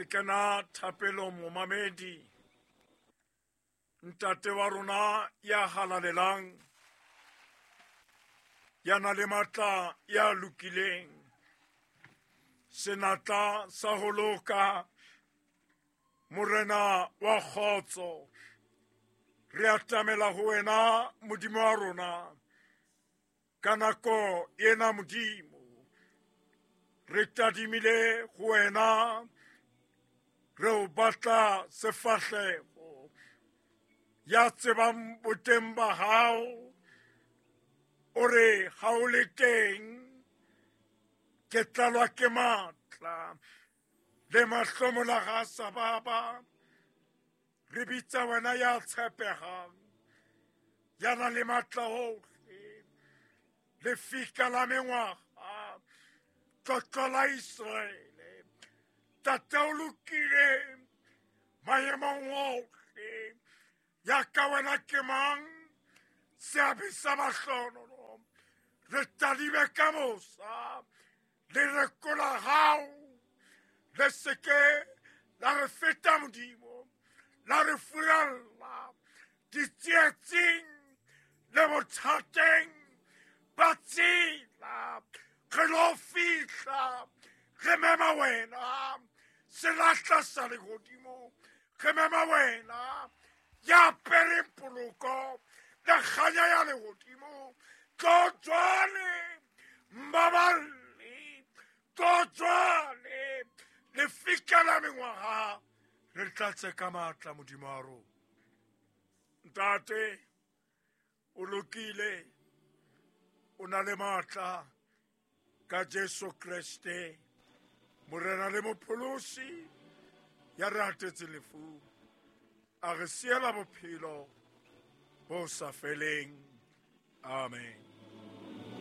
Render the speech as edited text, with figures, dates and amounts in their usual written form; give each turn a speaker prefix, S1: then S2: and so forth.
S1: Ke kena thapelong momamedi. Ntate wa rona ya halalelang, ya na le matla, ya lokileng, senatla sa ho loka, morena wa kgotso, re atamela ho wena Modimo wa rona ka nako ena. Modimo, re tadimile ho wena, re o batla sefahleho. Ya tsebang boteng ba hao o re ha o le teng ke tlalwa ke matla le mahlomola ga sa baba. Re bitsa wena ya tshepegang, ya nang le matla ohle, lefika la mengwaga, tlotlo la Israele. Tate, o lokile maemong ohle. Ya ka wena ke mang? Seabe sa mahlonono, re tadime ka mosa le rekola hao, le seke la re feta Modimo, la re furalla ditsietsing le bothateng ba tsela. Re lo fihla re mema wena, selahla sa lehodimo, re mema wena ya apereng poloko le kganya ya lehodimo. Tlo jwale mmaballi, tlo jwale lefika la mengwaga, re tlatse ka matla Modimo wa rona. Ntate, o lokile, o na le matla ka Jesu Kreste morena le mopholosi, ya re atetse lefung, a re siela bophelo bo sa feleng. Amen.